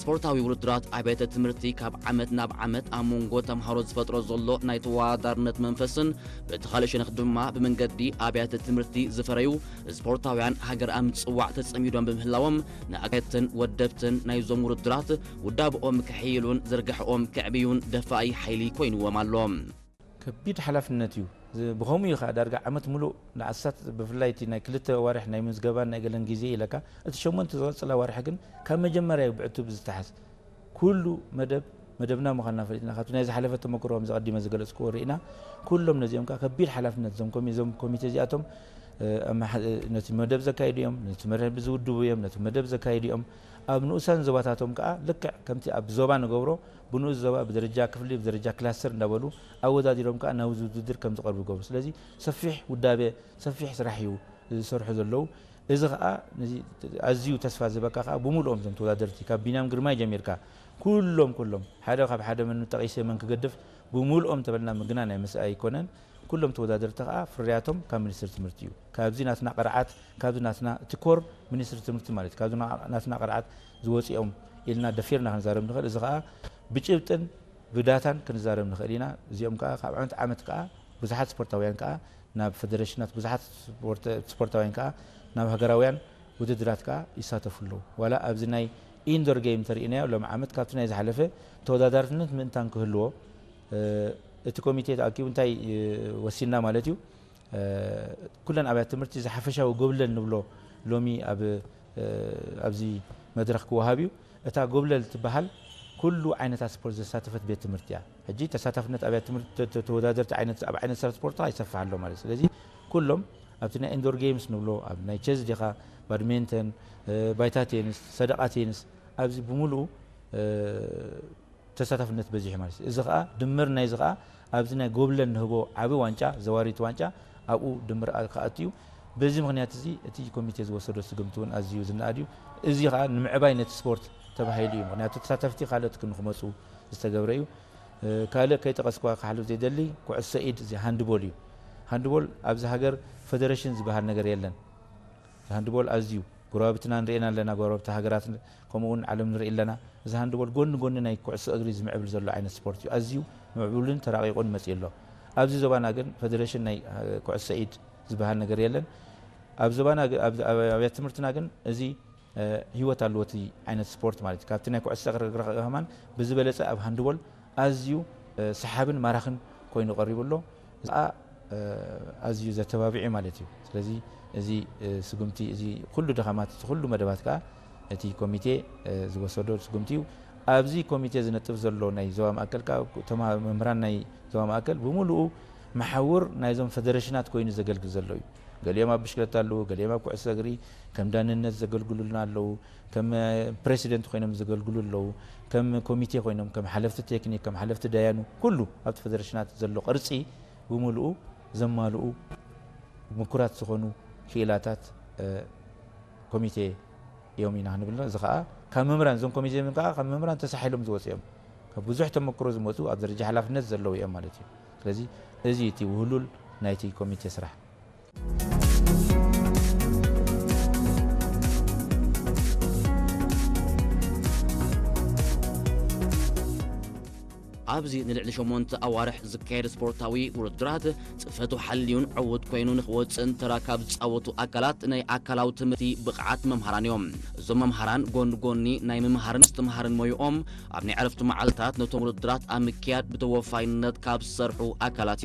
ስፖርታዊ ውድድራት ኣብያተ ትምህርቲ ካብ ዓመት ናብ ዓመት ኣብ መንጎ ተምሃሮ ዝፈጥሮ ዘሎ ናይ ተወዳዳርነት መንፈስን በቲ ካልእ ሸነኽ ድማ ብመንገዲ ኣብያተ ትምህርቲ ዝፈረዩ ስፖርታውያን ሃገር ኣብ ምጽዋዕ ተጸሚዶም ብምህላዎም ንኣካየድትን ወደብትን ናይዞም ውድድራት ውዳብኦም ክሕይሉን ዝርግሐኦም ክዕብዩን ደፋኢ ሓይሊ ኮይንዎም ኣሎ። ከቢድ ሓላፍነት እዩ። ዝ- ብኸምኡ እዩ ከዓ ዳርጋ ዓመት ሙሉእ ንኣሳት ብፍላይ እቲ ናይ ክልተ ዋርሕ ናይ ምዝገባን ናይ ገለን ግዜ ኢለካ እቲ ሸሞንተ ዝቐፅላ ዋርሒ ግን ካብ መጀመርያ እዩ ብዕቱብ ዝተሓዝ። ኩሉ መደብ መደብና ምዃንና ፈሊጥና ካብቲ ናይ ዝሓለፈ ተመክሮ ከም ዘቐዲመ ዝገለፅክዎ ርኢና ኩሎም ነዚኦም ከዓ ከቢድ ሓላፍነት እዞም ኮሚ- እዞም ኮሚቴ እዚኣቶም እ፣ ኣመሓ- ነቲ መደብ ዘካይዱ እዮም፣ ነቲ መደብ ዝውድቡ እዮም፣ ነቲ መደብ ዘካይዱ እዮም። ኣብ ንኡሳን ዞባታቶም ከዓ ልክዕ ከምቲ ኣብ ዞባ ንገብሮ ብንኡስ ዞባ ብደረጃ ክፍሊ ብደረጃ ክላስተር እንዳበሉ ኣወዳዲሮም ከዓ ናብዚ ውድድር ከም ዝቐርቡ ይገብሩ። ስለዚ ሰፊሕ ውዳበ ሰፊሕ ስራሕ እዩ ዝሰርሑ ዘለዉ። እዚ ከዓ ነዚ ኣዝዩ ተስፋ ዝህበካ ከዓ ብምልኦም እዞም ተወዳደርቲ ካብ ቢንያም ግርማይ ጀሚርካ ኩሎም ኩሎም ሓደ ካብ ሓደ መን ጠቒሰ መን ክገድፍ ብምልኦም ተበልና ምግና ናይ ምስኣ ኣይኮነን። ኩሎም ተወዳደርቲ ከዓ ፍርያቶም ካብ ሚኒስትሪ ትምህርቲ እዩ። ካብዚ ናትና ቅርዓት ካብዚ ናትና እቲ ኮር ሚኒስትሪ ትምህርቲ ማለት እዩ። ካብዚ ና- ናትና ቅርዓት ዝወፅኦም ኢልና ደፊርና ክንዛረብ ንኽእል። እዚ ከዓ ብጭብጥን ብዳታን ክንዛረብ ንኽእል ኢና። እዚኦም ከዓ ካብ ዓመት ዓመት ከዓ ብዙሓት ስፖርታውያን ከዓ ናብ ፌደሬሽናት ብዙሓት ስፖርት- ስፖርታውያን ከዓ ናብ ሃገራውያን ውድድራት ከዓ ይሳተፉ ኣለዉ። ዋላ ኣብዚ ናይ ኢንዶር ጌም እንተርኢናዮ ሎም ዓመት ካብቲ ናይ ዝሓለፈ ተወዳዳርነት ምእንታን ክህልዎ እ፣ እቲ ኮሚቴ ተኣኪቡ እንታይ እ፣ ወሲንና ማለት እዩ እ፣ ኩለን ኣብያት ትምህርቲ ዝሓፈሻዊ ጎብለል ንብሎ ሎሚ ኣብ እ፣ ኣብዚ መድረኽ ክወሃብ እዩ። እታ ጎብለል ትበሃል ኩሉ ዓይነታት ስፖርት ዘሳተፈት ቤት ትምህርቲ እያ። ሕጂ ተሳታፍነት ኣብያት ትምህርቲ ተ- ተ- ተወዳደርቲ ዓይነት ኣብ ዓይነት ስራሕ ስፖርት ይሰፍሕ ኣሎ ማለት እዩ። ስለዚ ኩሎም ኣብቲ ናይ ኢንዶር ጌምስ ንብሎ ኣብ ናይ ቸስ ዲኻ ባድሜንተን እ፣ ባይታ ቴንስ ሰደቓ ቴንስ ኣብዚ ብምሉኡ እ፣ ተሳታፍነት በዚሑ ማለት እዩ። እዚ ከዓ ድምር ናይዚ ከዓ ኣብዚ ናይ ጎብለል ንህቦ ዓቢ ዋንጫ ዘዋሪት ዋንጫ ኣብኡ ድምር ኣ- ክኣቱ እዩ። በዚ ምክንያት እዚ እቲ ኮሚቴ ዝወሰዶ ስግምቲ እውን ኣዝዩ ዝነኣድ እዩ። እዚ ከዓ ንምዕባይ ነቲ ስፖርት ተባሂሉ እዩ። ምክንያቱ ተሳተፍቲ ካልኦት ክን- ክመፁ ዝተገብረ እዩ። እ፣ ካልእ ከይጠቐስኳ ክሓልፍ ዘይደሊ ኩዕሶ ኢድ እዚ ሃንድቦል እዩ። ሃንድቦል ኣብዚ ሃገር ፌደሬሽን ዝበሃል ነገር የለን። ሃንድቦል ኣዝዩ ጎረባብትና ንርእየና ኣለና፣ ጎረባብቲ ሃገራት ከምኡ እውን ዓለም ንርኢ ኣለና። እዚ ሃንድቦል ጎኒ ጎኒ ናይ ኩዕሶ እግሪ ዝምዕብል ዘሎ ዓይነት ስፖርት እዩ። ኣዝዩ ምዕቡልን ተራቂቑን መፅኡ ኣሎ። ኣብዚ ዞባና ግን ፌደሬሽን ናይ እ፣ ኩዕሶ ኢድ ዝበሃል ነገር የለን። ኣብ ዞባና ግ- ኣብ ኣብ ኣብያት ትምህርትና ግን እዚ እ፣ ህይወት ኣለዎ እቲ ዓይነት ስፖርት ማለት እዩ። ካብቲ ናይ ኩዕሶ እግሪ ከማን ብዝበለፀ ኣብ ሃንድቦል ኣዝዩ እ፣ ሰሓብን ማራኽን ኮይኑ ቀሪቡ ኣሎ። እዚ ከዓ እ፣ ኣዝዩ ዘተባብዕ እዩ ማለት እዩ። ስለዚ እዚ እ፣ ስጉምቲ እዚ ኩሉ ድኻማት እቲ ኩሉ መደባት ከዓ እቲ ኮሚቴ እ፣ ዝወሰዶ ስጉምቲ እዩ። ኣብዚ ኮሚቴ ዝነጥፍ ዘሎ ናይ ዞባ ማእከል ከዓ ተማ- መምህራን ናይ ዞባ ማእከል ብምሉኡ መሓውር ናይዞም ፌደሬሽናት ኮይኑ ዘገልግል ዘሎ እዩ። ገሊኦም ኣብ ብሽክለታ ኣለዉ፣ ገሊኦም ኣብ ኩዕሶ እግሪ ከም ዳንነት ዘገልግሉልና ኣለዉ፣ ከም ፕሬሲደንት ኮይኖም ዘገልግሉ ኣለዉ፣ ከም ኮሚቴ ኮይኖም ከም ሓለፍቲ ቴክኒክ ከም ሓለፍቲ ዳያኑ ኩሉ ኣብቲ ፌደሬሽናት ዘሎ ቅርፂ ብምሉኡ ዘማልኡ ምኩራት ዝኾኑ ክኢላታት ኮሚቴ እዮም ኢና ክንብል። እዚ ከዓ ካብ መምህራን እዞም ኮሚቴ ከዓ ካብ መምህራን ተሳሒሎም ዝወፁ እዮም። ካብ ብዙሕ ተመክሮ ዝመፁ ኣብ ደረጃ ሓላፍነት ዘለዉ እዮም ማለት እዩ። ስለዚ እዚ እቲ ውህሉል ናይቲ ኮሚቴ ስራሕ። ኣብዚ ንልዕሊ ሸሞንተ ኣዋርሕ ዝካየድ ስፖርታዊ ውድድራት ጽፈቱ ሓልዩን ዕዉት ኮይኑ ንክወጽእን ተራ ካብ ዝጻወቱ ኣካላት ናይ ኣካላዊ ትምህርቲ ብቕዓት መምሃራን እዮም። እዞም መምሃራን ጎኒ ጎኒ ናይ ምምሃርን ምስትምሃርን ሞይኦም ኣብ ናይ ዕረፍቲ መዓልታት ነቶም ውድድራት ኣብ ምክያድ ብተወፋይነት ካብ ዝሰርሑ ኣካላት እዮም።